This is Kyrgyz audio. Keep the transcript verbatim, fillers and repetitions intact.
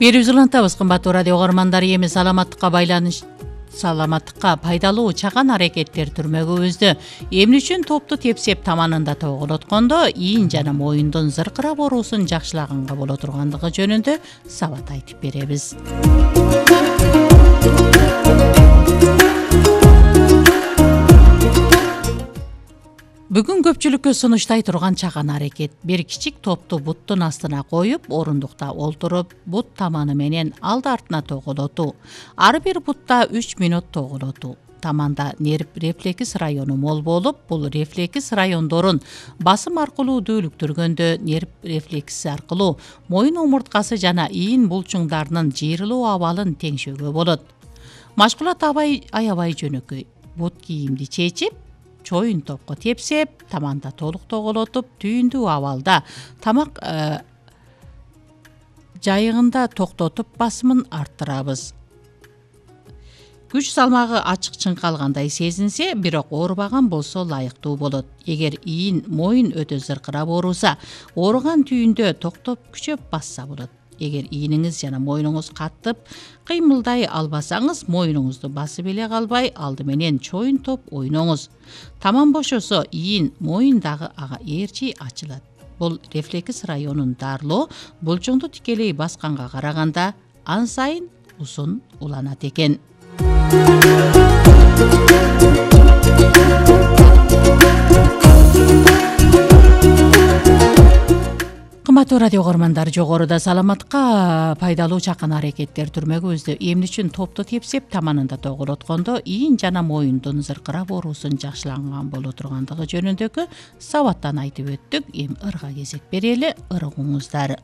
Берип улантабыз кымбаттуу радио угармандар. Эми саламаттыкка байланыш саламаттыкка пайдалуу чаган аракеттер түрмөгүбүздү эмне үчүн топту тепсеп таманында тогулоткондо ийин жана моюндун зыркырап оорусун жакшылаганга боло тургандыгы жөнүндө сабат айтып беребиз. Бүгүн көпчүлүккө сунуштай турган чаган аракет. Бир кичик топту буттун астына коюп, орундукта олтуруп, бут таманы менен алды артына тогулотуу. Ар бир бутта үч мүнөт тогулотуу. Таманда нерв рефлекс району мол болуп, бул рефлекс райондорун басым аркылуу дүүлүктүргөндө нерв рефлекси аркылуу моюн омурткасы жана ийин булчуңдарынын жыйрылуу абалын теңшөөгө болот. Машгулат абай аябай жөнөкөй. Бут кийимди чечип, чоюн топко тепсеп, таманда толук тоголотуп, түйүндүү абалда тамак э, жайыгында токтотуп басымын арттырабыз. Күч салмагы ачык чыңкалгандай сезинсе, бирок оорубаган болсо ылайыктуу болот. Эгер ийин моюн өтө зыркырап ооруса, ооруган түйүндө токтоп күчөп басса болот. Эгер ийниңиз жана моюнуңуз катып кыймылдай албасаңыз, моюнуңузду басып эле калбай, алды менен чоюн топ ойноңуз. Таман бошосо, ийин моюн дагы ага ээрчи ачылат. Бул рефлекс районун дарылоо булчуңду тикелей басканга караганда ан сайын узун уланат экен. Кымбаттуу радио угармандар, жогоруда саламатка пайдалуу чакан аракеттер түрмөгүбүздү эмне үчүн топту тепсеп таманында тогулоткондо ийин жана моюндун зыркырап оорусун жакшылаган боло тургандыгы жөнүндөгү сабаттан айтып өттүк. Эми ырга кезек берели, ыргыңыздар.